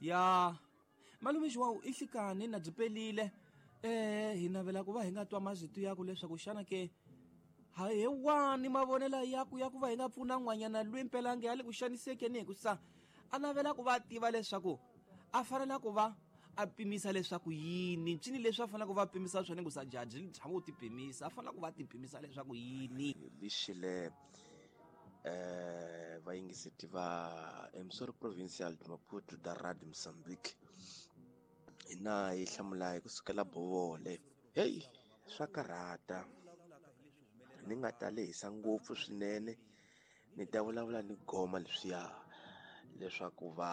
Ya malume João i hlikani na byi pelile hi navela ku va hi nga twa mazito yaku leswaku xana ke he wani mavonelo yaku ya ku va hi nga pfuna n'wanyana lwi mpelange ya le ku xanisekeni hi ku sa a navela ku va tiva leswaku a fanela ku va a pimisa leswaku yini ncini leswi a fanela ku va pimisa swona ku sa jaji tshama u ti pimisa a fanela ku va ti pimisa leswaku yini lixile vayingiseti va Emsori Provincial de Maputo da Radio Mozambique hina hi hlamula hi kusukela Bovole heyi swa karhata ni nga ta lehisa ngopfu swinene ni ta vulavula ni goma leswiya leswaku va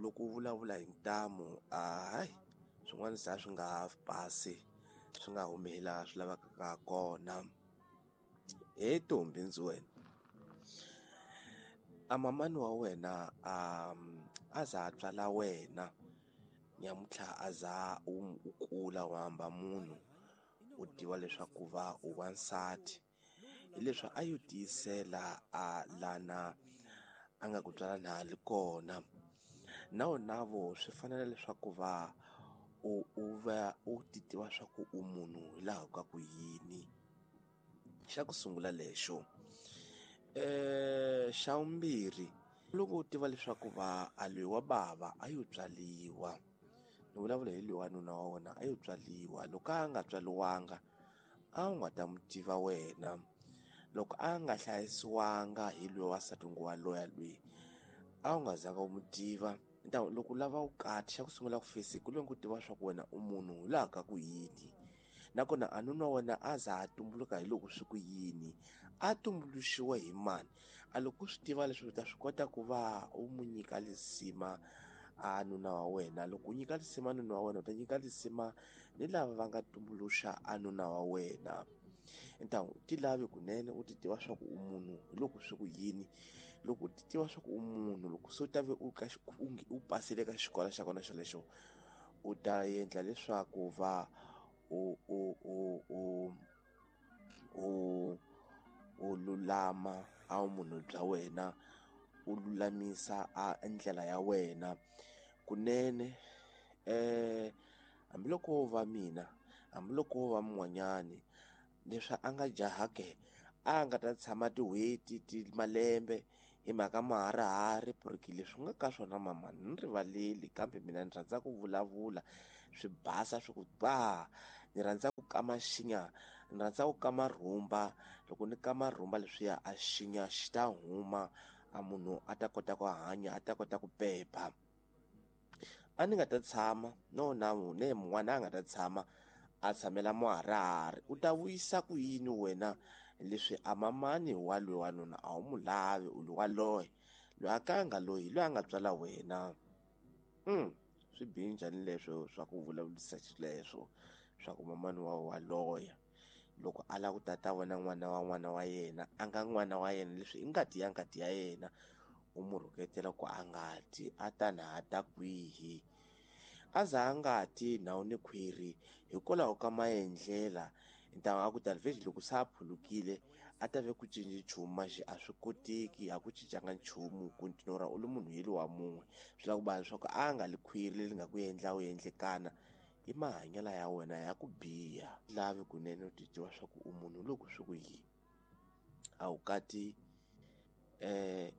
loko u vulavula hi ntamu hayi swin'wana se a swi nga ha pasi swi nga humi hi laha swi lavekaka kona he Ntombi ndzi wena a mamani wa wena a za a tswala wena nyamuntlha a za u kula u hamba munhu u tiva leswaku va u wansati hileswi a yo tiyisela a lana a nga ku tswala na li kona na wona vo swi fanele leswaku va u va u ti tiva swa ku u munhu hi laha ka ku yini xa ku sungula lexo xa vumbirhi loko u tiva leswaku va a loyi wa bava a yo tswaliwa ni vulavula hi loyi wa nuna wa wena a yo tswaliwa loko a nga tswaliwanga a wu nga ta n'wi tiva wena loko a nga hlayisiwanga hi loyi wansati wa loya loyi a wu nga zanga u n'wi tiva loko u lava vukati xa ku sungula ku fesi ku loko u tiva swa ku wena u munhu hi laha ka ku yini nakona a nuna wa wena a za a tumbuluka hi loko swi ku yini a tumbuluxiwe hi mani a loko u swi tiva leswi u ta swi kota ku va u n'wi nyika lisima a nuna wa wena loko u nyika lisima nuna wa wena u ta nyika lisima ni lava va nga tumbuluxa a nuna wa wena ntamu ti lavi kunene u ti tiva swa ku u munhu hi loko swi ku yini loko u ti tiva swa ku u munhu loko se u ta ve u ka u pasile ka xikolo xa kona xolexo u ta endla leswaku va u u u u u u lulama a vumunhu bya wena u lulamisa a ndlela ya wena kunene hambiloko wo va mina hambiloko wo va mun'wanyani leswi a nga jaha ke a nga ta tshama tin'hweti ti malembe hi mhaka maharihari porque leswi nga ka swona mama ni rivaleli kambe mina ni rhandza ku vulavula swi basa swi ku ba ni rhandza ku kama xinya ni rhandza ku kama rhumba loko ni kama rhumba leswiya a xinya xi ta huma a munhu a ta kota ku hanya a ta kota ku pepa a ni nga ta tshama no na ne mun'wana a nga ta tshama a tshamela muharihari u ta vuyisa ku yini wena leswi a mamani wa loyi wanuna a wu mu lavi u loyi wa loyi loyi a ka nga loyi loyi a nga tswala wena swi bihi njhani leswo swa ku vulavurisa xileswo swa ku mamani wa wa loya loko a lava ku tata vona n'wana wa n'wana wa yena a nga n'wana wa yena leswi i ngati ya ngati ya yena u mu rhuketela ku a nga ti a ta na ha ta kwihi a za a nga ti ndhawu ni khwiri hikwalaho ka maendlela ntamu a ku talvezi loko se a phulukile a ta ve ku cinci nchumu maxi a swi koteki a ku cincanga nchumu kontinora u li munhu yeli wa mun'we swi lava ku va leswaku a nga li khwiri leri nga ku endla u endlekana i mahanyelo ya wena ya ku biha lavi kunene u ti tiva swa ku u munhu loko swi ku yini a wu kati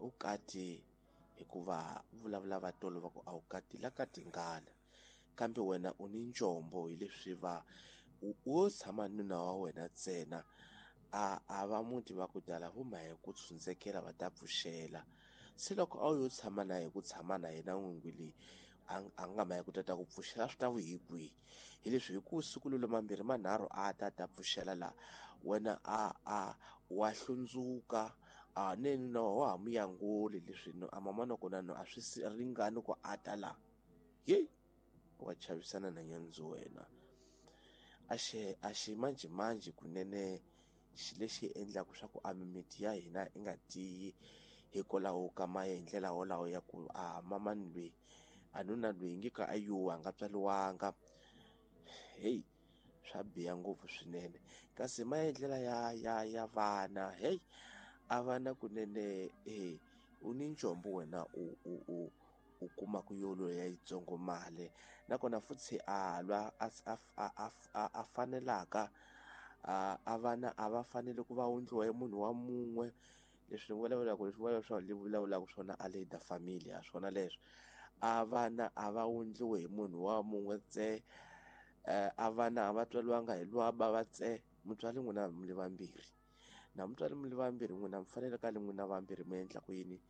u kati hikuva vulavula va tolo va ku a wu kati la ka tingana kambe wena u ni njombo hi leswi va wo tshama nuna wa wena ntsena a va muti va ku tala vo ma hi ku tshundzekela va ta pfuxela se loko a wu yo tshama na hi ku tshama na yena n'wingi leyi a nga ma hi ku tata ku pfuxela swi ta vu hi kwihi hi leswi hi ku siku lolo mambirhi manharhu a ta ta pfuxela laha wena a wa hlundzuka a ne nuna wa ha mu yanguli leswi a mama kona no a swi ringani ku a ta laha yeyi wa chavisana na nyandzu wena a xi manjhemanjhe kunene xi lexi endlaka swa ku a mimiti ya hina i nga tiyi hikwalaho ka maendlela wolawo ya ku a mamani loyi a nuna loyi nge ka a yuwa a nga tswaliwanga heyi swa biha ngopfu swinene kasi maendlela ya vana heyi a vana kunene u ni njombo wena u u kumaka yoloye ya yitsongo mali nakona futhi a lwa a fanelaka a vana a va fanele ku va wundliwa hi munhu wa mun'we. Leswi ni vulavulaka leswi vulavulaka vulavulaka swona a leader familia swona leswo a vana a va wundliwe hi munhu wa mun'we tse, a vana a va tswaliwanga hi lwa bava tse. Mutswari n'wina mi le vambirhi na mutswari mi le vambirhi n'wina mi fanele ka le n'wina vambirhi mi endla ku yini,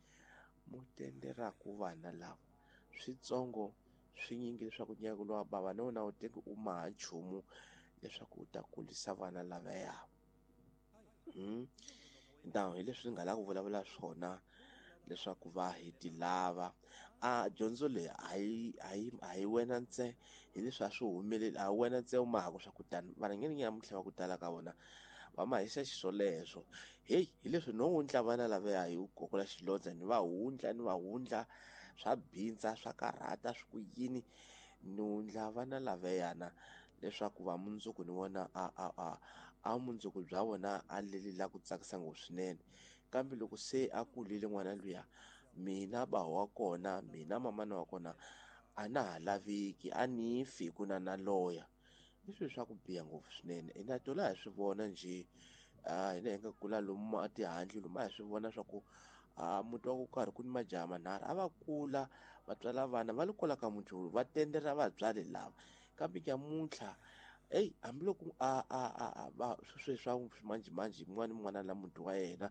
mu tenderaku vana lava switsongo swinyingi leswaku nyaka lowa bava na wona wu teki u maha nchumu leswaku u ta kulisa vana lavaya. Now hi leswi ni nga lava ku vulavula swona leswaku va hi ti lava. A dyondzo leyi a hi wena ntse, hi leswi a swi humeleli, a hi wena ntse u mahaka swa ku tani varhangeri nyamuntlha va ku tala ka vona va mahisa xiswoleswo. Heyi hi leswi no wundla vana lavaya hi gogola xilondza ni va wundla ni va wundla swa bindza swa karhata swi ku yini, ni wundla vana lavayana leswaku va mundzuku ni vona a mundzuku bya vona a leli la ku tsakisa ngopfu swinene. Kambe loko se a kulile n'wana luya, mina ba wa kona, mina mamana wa kona a na ha laveki, a ni fi ku na na loya. I swilo swa ku biha ngopfu swinene. Hina tola hi swi vona njhe, hina hi nga kula lomu a tihandle lomu a hi swi vona swa ku muti wa ku karhi ku ni majaha manharhu a va kula va tswala vana va le kwala ka muti lowu va tendera vatswari lava. Kambe nyamuntlha eyi hambiloko a va sweswi swa ximanjhemanjhe yin'wana ni yin'wana la muti wa yena,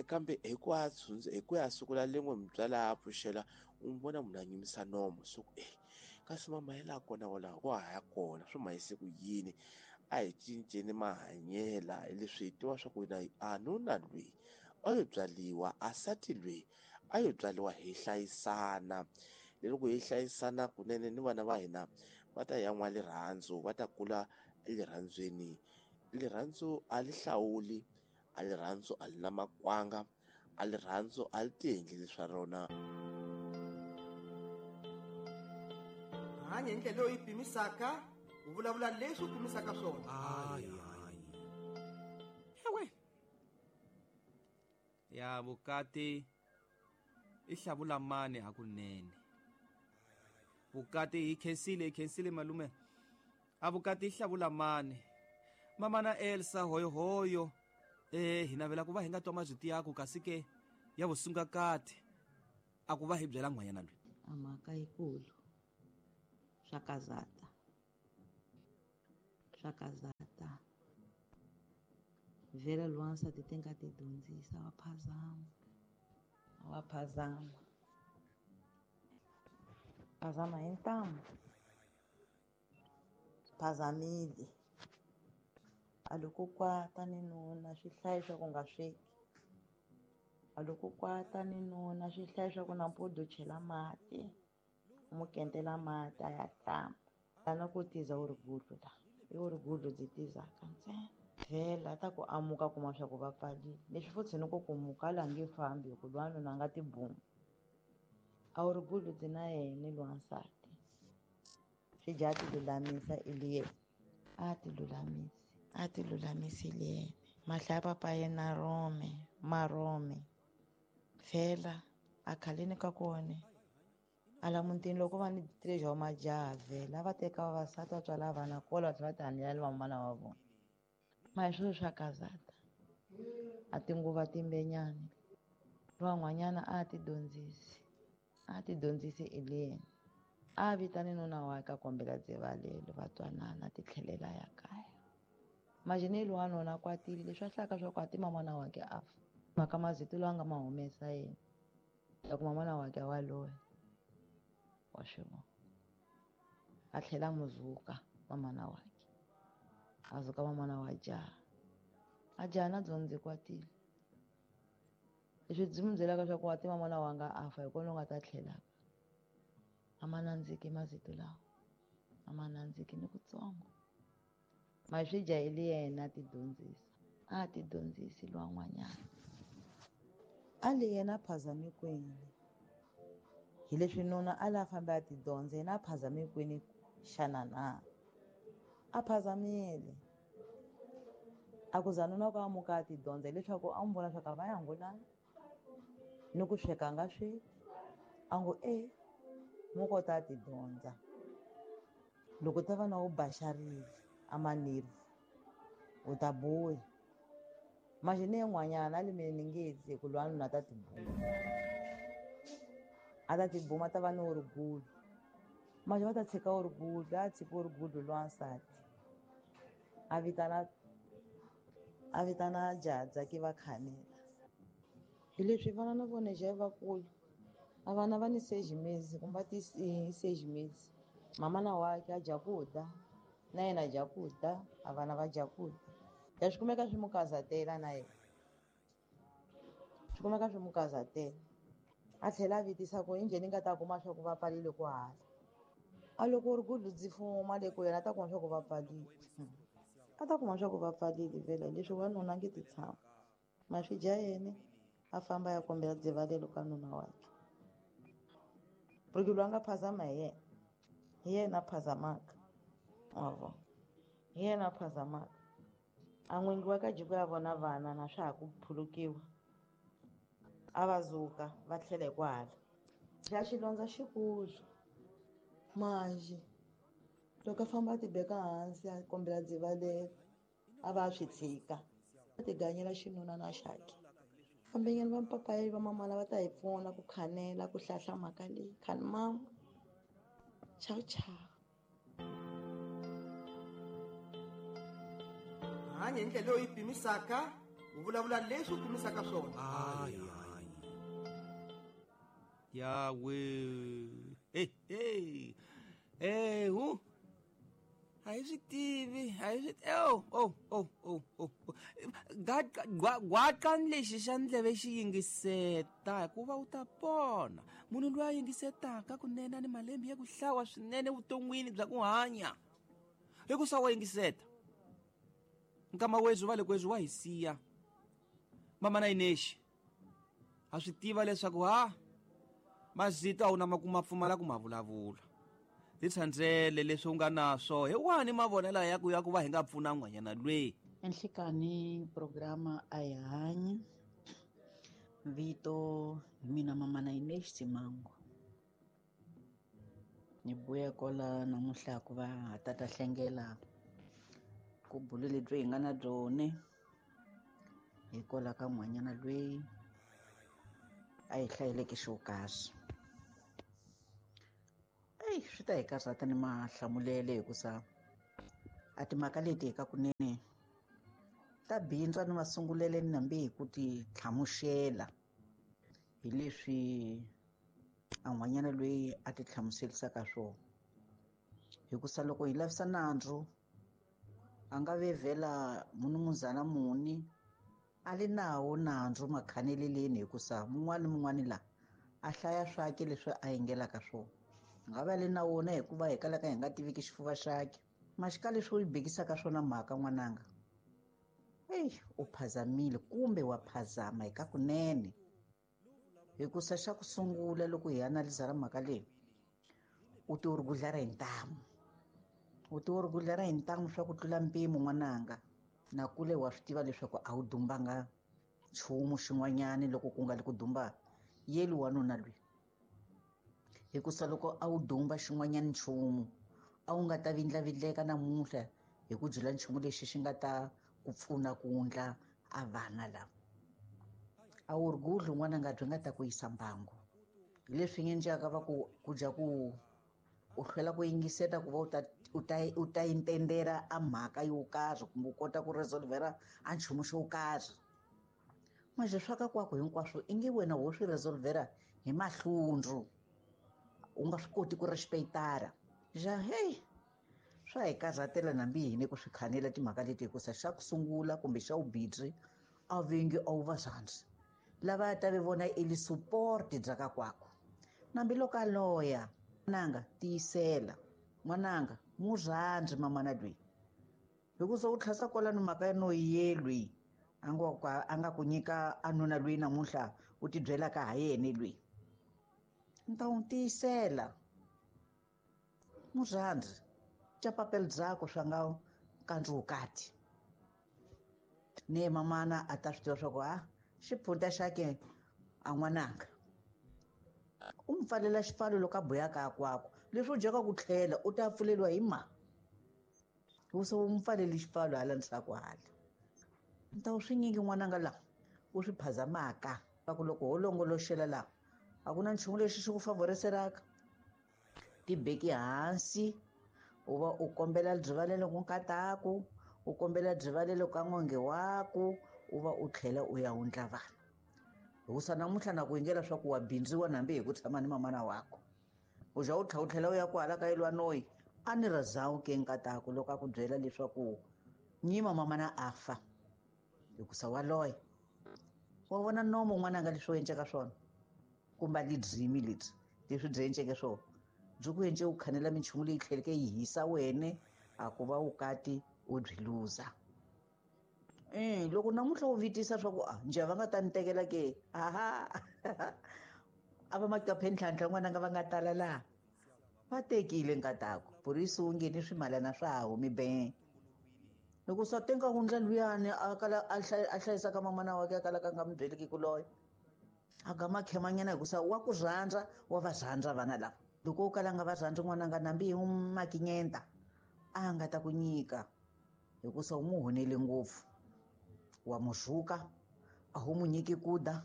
kambe hi ku ya hi ku ya siku la lin'we mutswari a pfuxela u n'wi vona munhu a nyumisa nomo so ku kasi mama ya laha kona walaho wa ha ya kona swi mahise ku yini. A hi cinceni mahanyela hi leswi hi tiva swa ku na a nuna lweyi a yo byaliwa, a sati lweyi a yo byaliwa, hi hlayisana. Loko hi hlayisana kunene ni vana va hina va ta yan'wa rirhandzu, va ta kula elirhandzweni. Rirhandzu a li hlawuli, a rirhandzu a li na makwanga, a rirhandzu a li tiendleli swa rona. Hanya hi ndlela leyi pimisaka, u vulavula leswi u pimisaka swona. Ewe. Ya vukati i hlavula mani hakunene. Vukati hi khensile, hi khensile malume. A vukati i hlavula mani. Mama na Elsa hoyohoyo. Hi navela ku va hi nga twa mazwiti yaku kasi ke ya vusungakati a ku va hi byela n'hwanyana loyi. A mhaka yikulu. Swa kazata. Swa kazata. Vhela lwansati ti nga ti dyondzisa wa phazama. Wa phazama. Phazama hi ntamu. Phazamile. A loko kwata ni nuna swi hlayi swa ku nga sweki. A loko kwata ni nuna swi hlayi swa ku nampundzu chela mati. U mu kentela mati a ya hlamba. Tana ku tiza u ri gudlu la. I u ri gudlu byi tizaka ntsena. Vhela ta ku amuka kuma swa ku va pfalile. Leswi futhi ni ku ku muka la nge fambi hi ku lwa nuna a nga tibumi. A wu ri gudlu byi na yena lwansati. Swi dya ti lulamisa i li yena. A ti lulamisi. A ti lulamisile yena. Mahla ya papa yena rome, marome. Vhela a khaleni ka kone. A la mutini loko va ni treasure wa majaha vhela va teka vavasati va tswala vana kola va tlhela va tihanyela ni vamana wa vona. Ma hi swilo swa kazata. A tinguva timbenyani. Van'wanyana a ti dyondzisi. A ti dyondzisi i le yena. A vitane nuna wa ka kombela dzivalelo va twanana ti tlhelela ya kaya. Majineli wa nuna kwatile leswi a hlaka swa ku a ti mamana wa ke a fa. Mhaka mazito lawa nga ma humesa yena. Ya ku mamana wa ke wa loya. Wa swi vona. A tlhela a n'wi zuka mamana wa ke. A zuka mamana wa jaha. A jaha na dyondzi kwatile. Leswi byi n'wi byelaka swa ku wa ti mamana wa nga a fa hi kona u nga ta tlhelaka. A ma nandziki mazito lawa. A ma nandziki ni kutsongo. Ma swi jaheli yena a ti dyondzisa. A ti dyondzisi lwan'wanyana. A le yena a phazame kwini. Hi leswi nuna a la fambe a ti dyondza, yena a phazame kwini xana na? A phazamile. A ku za nuna ku amuka a ti dyondza hileswaku a n'wi vona swa ku a va ya ngulani. Ni ku sweka a nga sweki. A ngo e, Mu kota ti dyondza. Loko ta va na u baxarile a manirvu u ta buya. Manje ne n'wanyana a le mina ni nge dzi ku lwa nuna ta tibuma. A ta tibuma ta va ni uri gulu. Manje va ta tshika uri gulu, a tshika uri gulu lwansati. A vitana jadza ke va khanela. Hi leswi vana na vona je vakulu. A vana va ni sejimezi kumbe ti sejimezi. Mama na wake a dya ku dya, na yena a dya ku dya, a vana va dya ku dya. Ya swi kumeka swi mu kazatela na yena. Swi kumeka swi mu kazatela. A tlhela a vitisa ku injhe ni nga ta kuma swa ku va pfalile ku hala. A loko uri ku dzi fuma le ku yena a ta kuma swa ku va pfalile. A ta kuma swa ku va pfalile vhela leswi wanuna a nge ti tshama. Maswi dya yena a famba ya kombela dzivalelo ka nuna wakhe. Porque loyi a nga phazama hi yena. Hi yena a phazamaka. Wa vona. Hi yena a phazamaka. A n'wingi wa ka jiko ya vona vana na swa ha ku phulukiwa. A va zuka va tlhela hi kwahala. Xa xilondza xikulu. Manjhe loko a famba a tibeka hansi a kombela dzivalelo a va a swi tshika. A tiganyela xinuna na xakhe. Fambenyana va papayi va mamana va ta hi pfuna ku khanela ku hlahla mhaka leyi. Khani mama. Ciao ciao. Hanya hi ndlela leyi pimisaka, u vulavula leswi u pimisaka swona. Hayi hayi. Yawe. Hey hey. Eh hu. A hi swi tivi, a hi swi oh oh oh oh oh. Gwaqa lexi xa ndleve xi yingiseta hikuva u ta pona. Munhu loyi a yingisetaka kunene ni malembe ya ku hlawa swinene vuton'wini bya ku hanya. Hikusa wa yingiseta. Nkama wethu va le kwethu wa hi siya. Mama na Ineshi. Ha swi tiva leswaku ha mazito a wu na ma pfumala ku ma vulavula. Titshandzele leswi u nga na swo hi wani mavonelo ya ku ya ku va hi nga pfuna n'wanyana lweyi. Enhlekani programa a hi hanyi. Vito hi mina mama na Ineshi Simango. Ni buya kola namuntlha ku va ha tata hlengela ku bulu lebyi hi nga na byone hi kola ka n'wanyana lweyi a hi hlayeleke xo karhi. Eyi swi ta hi karhata ni mahlamulele hikusa a timhaka leti hi ka kunene ta bindza ni masungulele ni nambi hi ku ti hlamusela hi leswi a n'wanyana loyi a ti hlamuserisaka swona. Hikusa loko hi lavisa nandzu a nga vevhela munumuzana muni a li nawo nandzu makhaneleleni hikusa mun'wana ni mun'wana la a hlaya swake leswi a yingelaka swona. Nga va le na wona hikuva hi kalaka hi nga tiviki xifuva xakhe. Maxika leswi u yi bekisaka swona mhaka n'wananga. Eyi u phazamile kumbe wa phazama hi ka kunene. Hikusa xa ku sungula loko hi analiza mhaka leyi u ti uri gudlera hi ntamu. U ti uri gudlera hi ntamu swa ku tlula mpimo n'wananga. Na kule wa swi tiva leswaku a wu dumbanga nchumu xin'wanyani loko ku nga li ku dumba yeli wanuna loyi. Hikusa loko a wu dumba xin'wanyani nchumu a wu nga ta vindlavindleka namuntlha hi ku byela nchumu lexi xi nga ta ku pfuna ku wundla a vana lava. A wu ri gudli n'wananga byi nga ta ku yisa mbangu. Hi leswi nge njhaka va ku ku dya ku u hlwela ku yingiseta ku va u ta intendera a mhaka yo karhi kumbe u kota ku resolvera a nchumu xo karhi. Manje swa ka kwako hinkwaswo i nge wena wo swi resolvera hi mahlundzu. U nga swi koti ku respectara. Ja hey swa hi karhatela nambi hina ku swi khanela timhaka leti hikusa xa ku sungula kumbe xa vubirhi a vingi a wu va rhandzi. Lava ta ve vona i li support bya ka kwako. Nambi loko a loya n'wananga tiyisela n'wananga mu rhandzi mamana loyi. Hikusa u tlhasa kwalano mhaka ya no yelwi a nga ku nyika a nuna loyi namuntlha u ti byelaka ha yena loyi. Ni ta n'wi tiyisela. Mu rhandzi tya papel byakwe swa nga kandzukati. Ne mamana a ta swi tiva swa ku ha xiphunta xakhe a n'wananga. U n'wi pfalela xipfalo loko a boyaka kwako leswi u dyaka ku tlhela u ta pfuleriwa hi ma hikusa u n'wi pfaleli xipfalo hala ndzhaku hala. Ni ta swi nyingi n'wananga laha u swi phazamaka va ku loko ho longoloxela laha a ku na nchumu lexi xi ku favoriselaka. Tibeki hansi u va u kombela byivalelo ku nkataku, u kombela byivalelo ka n'wange waku, u va u tlhela u ya wundla vana. Hikusa namuntlha na ku yingela swa ku wa bindziwa nambi hi ku tshama ni mamana wako. U za u tlhela u tlhela u ya kwala ka yelwa noyi a ni razawu ke nkataku loko a ku byela leswaku nyima mamana a fa hikusa wa loya. Wa vona nomo n'wananga leswi u endleka swona kumbe a lidzimi lebyi leswi byi endleke swona byi ku endle u khanela minchumu leyi tlheleke yi hisa wene a ku va vukati u byi luza. Loko namuntlha u vitisa swa ku a njhe va nga ta ni tekela ke aha a va maqaphe ntlhantlha n'wananga va nga tala laha va tekile nkatako purisi wu ngheni swimalana swa ha humi be. Loko swa tenga wundla luyani a kala a hlayisaka mamana wakhe a kalaka a nga mi byeliki ku loya a ga makhemanyana hikusa wa ku rhandza wa va rhandza vana lava. Loko u kala nga va rhandzi n'wananga nambi hi makinyenta a nga ta ku nyika hikusa u n'wi honele ngopfu. Wa muzuka a wu mu nyiki ku dya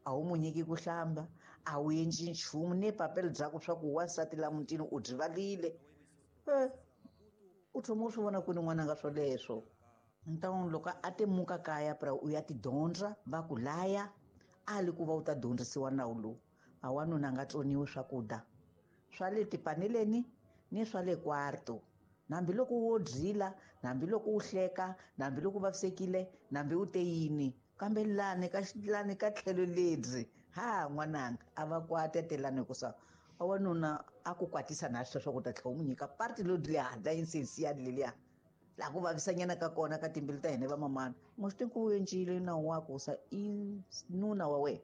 a wu mu nyiki ku hlamba a wu endli nchumu ni papelo bya ku swa ku wansati la mutini u byi valile. U thoma u swi vona kwini n'wananga swoleswo. Ntan'wini loko a temuka kaya pra u ya tidyondza va ku laya a li ku va u ta dyondzisiwa nawu lowu a wanuna a nga tsoniwi swakudya swa le tipaneleni ni swa le kwarto. Hambiloko wo dyila, hambiloko u hleka, hambiloko u vavisekile, hambi u te yini, kambe lani ka lani ka tlhelo lebyi ha n'wananga a va kwata telani hikusa a wanuna a ku kwatisa na sweswo ku ta tlhela u n'wi nyika parti loyi le handle yinsensi leliya laha ku vavisanyana ka kona ka timbilu ta hina vamamana. N'wi swi tivi ku u encile nawu wa ku sa i nuna wa wena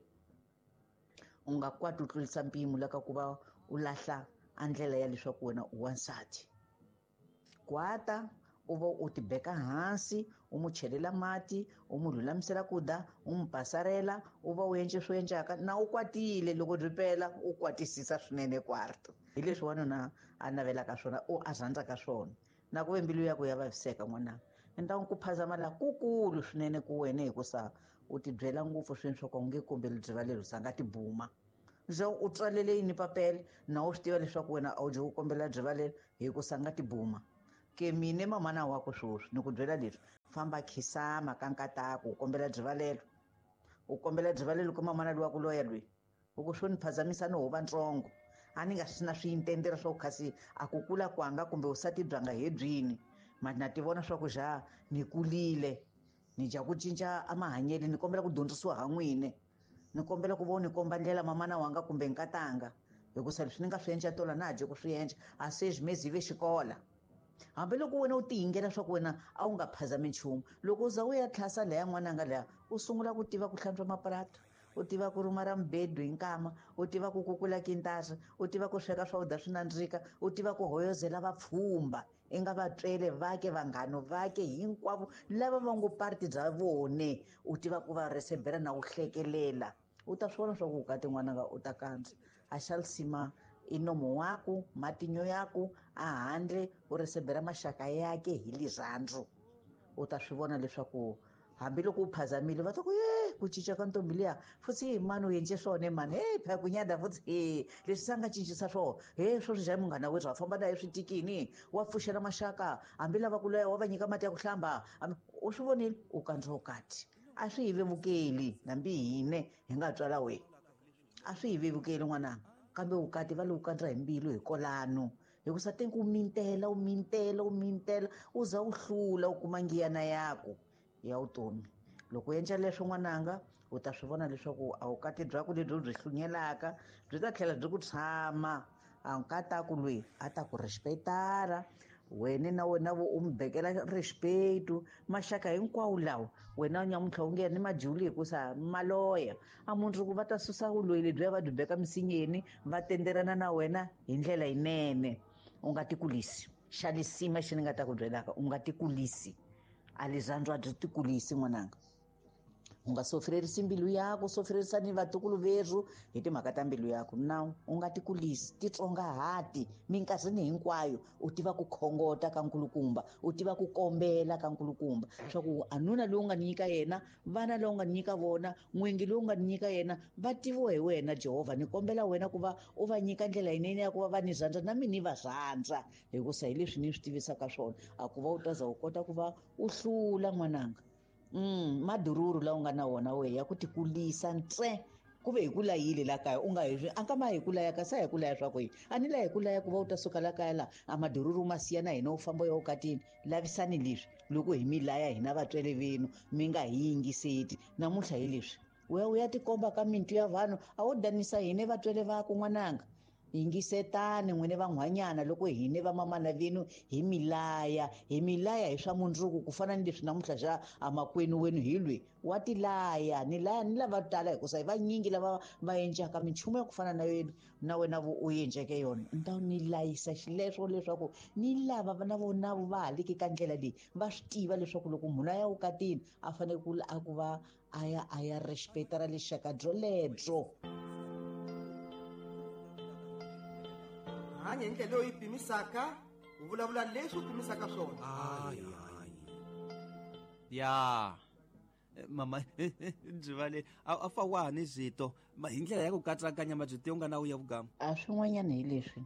u nga kwati u tlurisa mpimo la ka ku va u lahla a ndlela ya leswaku wena u wansati. Kwata u va u tibeka hansi u n'wi chelela mati u n'wi lulamisela ku dya u n'wi pasarela u va u endle swo endlaka na u kwatile loko byi pela u kwatisisa swinene kwarto. Hi leswi wanuna a navelaka swona u a rhandzaka swona na ku ve mbilu yakwe ya vaviseka n'wananga. Ni ku phazama laha kukulu swinene ku wena hikusa u tibyela ngopfu swinene swa ku u nge kombeli byivalelo sa nga tibuma. Leswaku u tswalele yini papele na u swi tiva leswaku wena a wu dyi ku kombela byivalelo hikusa nga tibuma. Ke mine mamana wa ku swoswi ni ku byela leswi famba khisama ka nkataku u kombela byivalelo u kombela byivalelo ka mamana luwa ku loya loyi u ku swo ni phazamisa ni hova ntsongo a ni nga swi na swintendere swa ku khasi a ku kula kwanga kumbe usati byanga he byini mati na ti vona swa ku ja ni kulile ni dya ku cinca a mahanyelo ni kombela ku dyondzisiwa ha n'wini ni kombela ku va ni komba ndlela mamana wanga kumbe nkatanga hikusa leswi ni nga swi endla tola na ha dye ku swi endla a se swi ve xikola. Hambiloko wena u tiyingela swa ku wena a wu nga phazami nchumu loko u za u ya tlhasa laya n'wananga laya u sungula ku tiva ku hlantswa mapurati u tiva ku rhuma ra mubedo hi nkama u tiva ku kukula kintara u tiva ku sweka swakudya swi nandzika u tiva ku hoyozela vapfhumba i nga vatswele vake vanghano vake hinkwavo lava va ngo parti bya vone u tiva ku va resebera na u hlekelela u ta swi vona swa ku ukati n'wananga u ta kandza a xa lisima i nomo waku matinyo yaku a handle u resebera maxaka yake hi lirhandzu u ta swi vona leswaku hambiloko u phazamile va ta ku ye ku cinca ka ntombi liya futhi hi mani u endle swona mani he phela ku nyada futhi he leswi se a nga cincisa swona he sweswi njhani munghana wethu wa famba na ye switikini wa pfuxela maxaka hambi lava ku loya wa va nyika mati ya ku hlamba u swi vonile u kandza ukati a swi hi vevukeli hambi hine hi nga tswala wena a swi hi vevukeli n'wananga kambe vukati va lowu kandza hi mbilu hi kolano hikusa tenku u mintela u mintela u mintela u za u hlula u kuma ngiyana yaku ya vutomi. Loko u endla leswo n'wananga u ta swi vona leswaku a vukati byaku lebyi u byi hlunyelaka byi ta tlhela byi ku tshama a nkataku loyi a ta ku respectara wena na wena vo u mi bekela respect maxaka hinkwawo lawa wena nyamuntlha u nge ni madyuli hikusa maloya a mundzuku va ta susa vuloyi lebyiya va byi beka misinyeni va tenderana na wena hi ndlela yinene. U nga tikulisi xa lisima xi ni nga ta ku byelaka u nga tikulisi a lirhandzu a byi tikulisi n'wananga. U nga sofrerisi mbilu yaku, sofrerisa ni vatukulu verhu hi timhaka ta mbilu yaku. Nawu u nga tikulisi, titsongahati minkarhini hinkwayo, u tiva ku khongota ka nkulukumba, u tiva ku kombela ka nkulukumba swa ku anuna lowu nga ni nyika yena, vana lowu nga ni nyika vona, n'wingi lowu nga ni nyika yena, va tiviwa hi wena Jehovha. Ni kombela wena ku va u va nyika ndlela yinene ya ku va va ni rhandza na mina ni va rhandza, hikusa hi leswi ni swi tivisaka swona. A ku va u ta za u kota ku va u hlula n'wananga. Madururu lawa u nga na wona wehe ya ku tikulisa ntsena, ku ve hi ku layile la kaya, u nga hi a nga ma hi ku laya kasi a hi ku laya swa ku yini? A ni laya hi ku laya ku va u ta suka la kaya la a madururu ma siya na hina u famba u ya vukatini. Lavisani leswi loko hi mi laya hina vatswari venu mi nga hi yingiseti. Namuntlha hi leswi u ya u ya tikomba ka mintu ya vanhu, a wo danisa hina vatswari vaku n'wananga. Yingisetani n'wine van'hwanyana loko hine vamamana venu hi milaya, hi milaya hi swa mundzuku, ku fana ni leswi namuntlha xa amakwenu wenu hi lwi wa tilaya. Ni laya ni lava tala hikusa hi vanyingi lava va encaka minchumu ya ku fana na yena na wena u enceke yona. Ni ta ni layisa xileswo leswaku ni lava na vona va ha leki ka ndlela leyi, va swi tiva leswaku loko munhu a ya vukatini a fanele ku a ku va a ya a ya respecta ra lexaka byolebyo. Hanya hi ndlela leyi pimisaka, u vulavula leswi u pimisaka swona. Ya mama byi a fa wa ha ni zwito hi ndlela ya ku katsakanya mabyito yo nga na wu ya vugama. A swin'wanyana hi leswi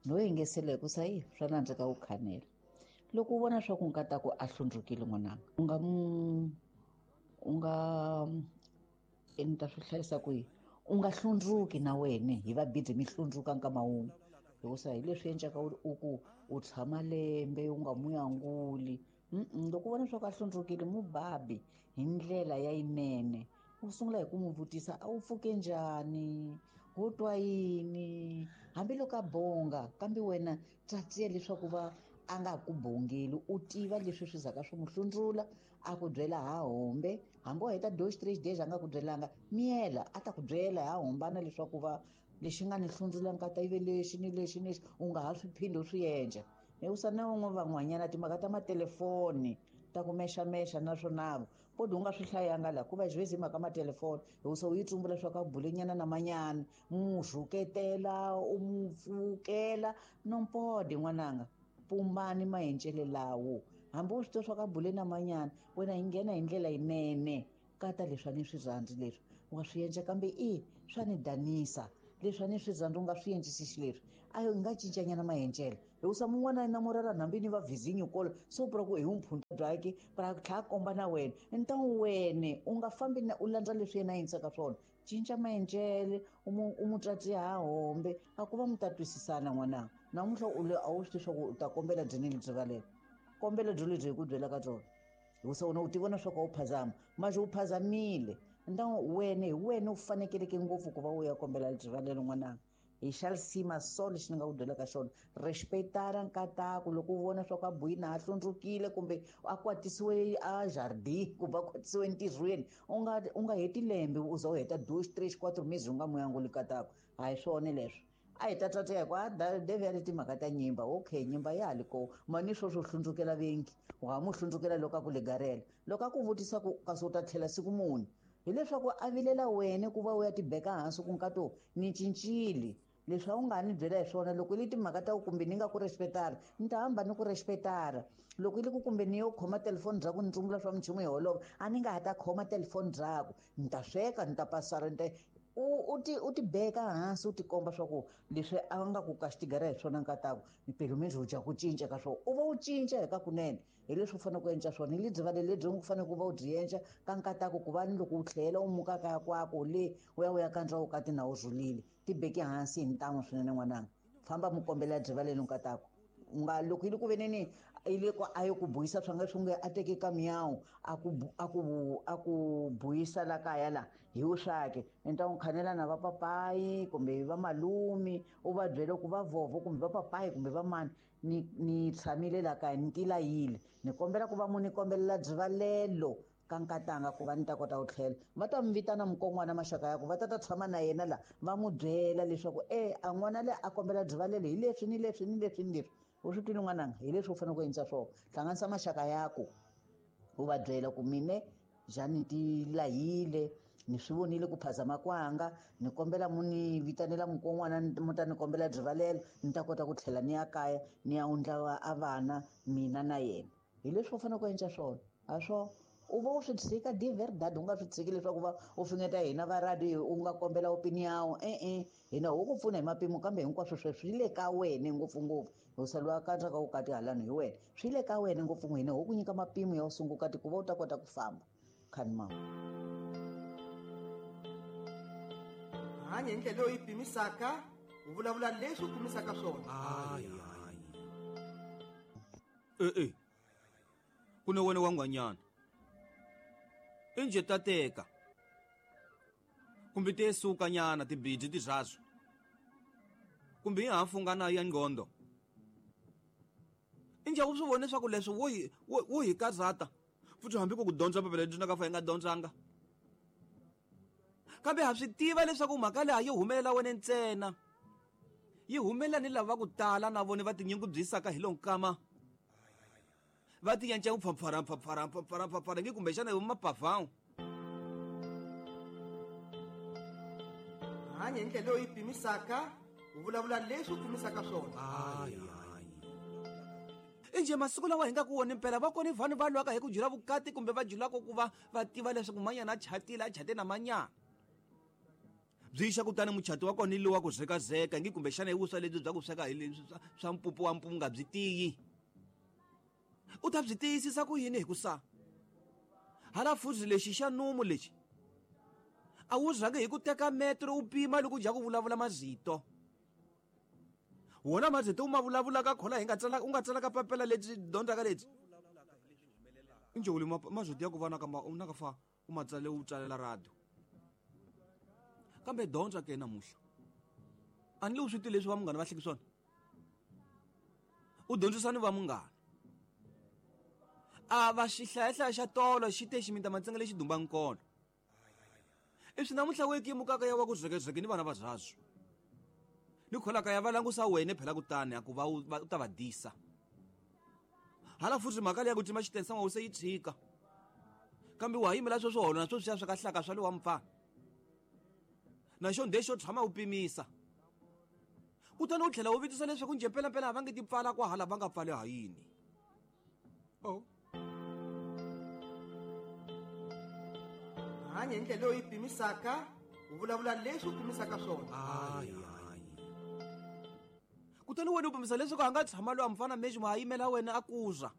no yingisela hikusa yi swa nandzika wu khanela. Loko u vona swa ku nkataku a hlundzukile n'wananga, u nga u nga ni ta swi hlayisa kwihi? U nga hlundzuki na wena hi va busy mi hlundzuka nkama wun'we, hikusa hi leswi endlaka u ku u tshama lembe u nga mu anguli. Loko u vona swa ku a hlundzukile, mu babi hi ndlela ya yinene. U sungula hi ku n'wi vutisa, a wu pfuke njhani, wo twa yini, hambiloko a bonga kambe wena tsatsiya leswaku va a nga ku bongeli, u tiva leswi swi zaka swi n'wi hlundzula, a ku byela ha hombe. Hambi wa heta 2-3 days a nga ku byelanga, miyela a ta ku byela ha hombana leswaku va lexi nga ni hlundzula nkata yi ve lexi ni lexi ni lexi, u nga ha swi phindi u swi endla. Hikusa na van'we van'wanyana timhaka ta matelefoni ta ku mexamexa naswona podi u nga swi hlayanga laha ku va xivezi hi mhaka matelefoni, hikusa u yi tsumbula swa ka bulenyana na manyana, mu rhuketela, u mu pfukela nompodi n'wananga. Pumbani maencele lawo, hambi u swi tiva swa ka bule na manyana, wena hi nghena hi ndlela yinene. Kata leswi a ni swi rhandzi leswi u nga swi endla, kambe i swa ni danisa leswi a ni swi rhandzi u nga swi endlisi xileswi. A hi nga cincanyana maencele, hikusa mun'wana na murara hambi ni va vizinyo kolo so pura ku hi wu mpfhunta byakhe pra tlhela a komba na wena. Ni ta wene u nga fambi na u landza leswi yena a endlisaka swona. Cinca maencele, u mu tatiya ha hombe, a ku va mi ta twisisana n'wananga. Namuntlha u le a wu swi tivi swa ku u ta kombela dyini lebyi valelo, kombela byo lebyi hi ku byela ka byona, hikusa wena u ti vona swa ku a wu phazama, manje u phazamile. Nta wena hi wena u fanekeleke ngopfu ku va u ya kombela rivalelo n'wananga. Hi xa risima so lexi ni nga ku byelaka xona, respectara nkataku. Loko u vona swa ku a buyini a hlundzukile kumbe a kwatisiwe a jardin kumbe a kwatisiwe entirhweni, u nga heti lembe u za u heta 2, 3, 4 mezi u nga mu anguli nkataku. A hi swona leswi. A hi ta tata ku a Devi ya le timhaka ta nyimba. Okay, nyimba ya ha li kona, mani sweswo hlundzukela vengi, u nga mu hlundzukela loko a ku legarela, loko a ku vutisa ku kasi u ta tlhela siku muni, hileswaku a vilela wena ku va u ya tibeka hansi ku nkato ni cincile leswi a wu nga ni byela hi swona. Loko i le timhaka ta ku kumbe ni nga ku respectara, ni ta hamba ni ku respectara. Loko i le ku kumbe ni yo khoma telefoni bya ku ni tsumbula swa minchumu hi holova, a ni nga ha ta khoma telefoni byaku, ni ta sweka, ni ta pasara, ni ta u ti beka hansi, u ti komba swa ku leswi a nga ku ka xitigara hi swona nkataku mpelo mindzi u dya ku cinca ka swona, u va u cinca hi ka kunene. Hi leswi u fanele ku endla swona, hi lebyi vale lebyi u fanele ku va u byi endla ka nkataku, ku va ni loko u tlhela u muka kaya kwako le u ya u ya kandza vukati na u rhulile. Ti beke hansi hi ntamu swinene n'wananga, famba mu kombela byi vale nkataku. U nga loko yi le ku veneni yi le ku a yi ku buyisa swa nga swi nge a teke ka miyawu a ku a ku a ku buyisa la kaya la hi wu swake, ni ta n'wi khanela na vapapayi kumbe va malume, u va byela ku va vhovho kumbe vapapayi kumbe va mani, ni tshamile la kaya ni tilayile, ni kombela ku va mu ni kombelela byivalelo ka nkatanga ku va ni ta kota ku tlhela. Va ta mi vitana mukon'wana maxaka ya ku va ta ta tshama na yena la, va n'wi byela leswaku a n'wana le a kombela byivalelo hi leswi ni leswi ni leswi ni leswi. U swi twile n'wananga, hi leswi u fanele ku endla swona. Hlanganisa maxaka ya ku u va byela ku mine Jani ti lahile ni swi vonile ku phazama kwanga ni kombela mu ni vitanela mukon'wana mu ta ni kombela rivalelo ni ta kota ku tlhela ni ya kaya ni ya wundla a vana mina na yena. Hi leswi u fanele ku endla swona a swo u va u swi tshika de verdade u nga swi tshiki leswaku va u fingeta hina va radio u nga kombela opinion e-e hina ho ku pfuna hi mapimo kambe hinkwaswo sweswo swi le ka wena ngopfungopfu u saliwa katsaka vukati halano hi wena swi le ka wena ngopfungopfu hina ho ku nyika mapimo ya usungukati ku va u ta kota ku famba khani mama. Hanya hi ndlela leyi pimisaka u vulavula leswi u pimisaka swona. E-e ku ne wena wa ngwanyana inje ta teka kumbe te suka nyana tibidi tizvazo kumbe yi hafungana ya ngqondo inje u swi vone leswaku leswi wo hi karhata futhi hambi ku dyondza papila lebyi nga fa hi nga dyondzanga kambe ha swi tiva leswaku mhaka leyi a yi humelela wena ntsena yi humelela ni lava ku tala na vona va tinyungubyisaka hi lonkama va ti yanca ku pfapfara pfapfara pfapfara pfapfara nge kumbexana hi mapavhawu. Hanya hi ndlela leyi pimisaka u vulavula leswi u pimisaka swona. Inje masiku lawa hi nga ku wona mpela va kona vanhu va lwaka hi ku jula vukati kumbe va julaka ku va va tiva leswaku manyana a chatile a chate na manyana byi xa kutani muchati wa kona lowa ku zekazeka nge kumbexana hi vuswa lebyi bya ku sweka hi leswi swa mpupu wa mpunga byi tiyi u ta byi tiyisisa ku yini hi ku sa hala fuzi lexi xa numu lexi a wu rhangi hi ku teka metro u pima loko u dya ku vulavula mazito wona mazito u ma vulavulaka khola hi nga tsala u nga tsalaka papela lebyi dyondzaka lebyi injholi mazito ya ku va na ka na ka fa u ma tsale u tsalela radio kambe dyondza ke namuhla a ni le u swi tivi leswi va munghana va hleki swona u dyondzisa ni va munghana a va xihlayahlaya xa tolo xi te ximinta matsenga lexi dumba nkolo i swi namuntlha we kimukaka ya wa ku zekezeke ni vana va zazwo ni kholaka ya va langusa wena phela kutani a ku va u ta va disa hala futhi mhaka leyi ya ku cima xitensa wa se yi tshika kambe wa yimela sweswo holo na sweswiya swa kahlaka swa le wa mpfana na xo nde xo tshama u pimisa kutani u tlhela u vutisa leswaku njhe mpelampela a va nge ti pfala kwahala va nga pfali ha yini. Oh. Hanya hi ndlela leyi pimisaka u vulavula leswi u pimisaka swona. Kutani wena u pimisa leswaku a nga tshama loyi a mfana mexi ma yimela wena a kuza.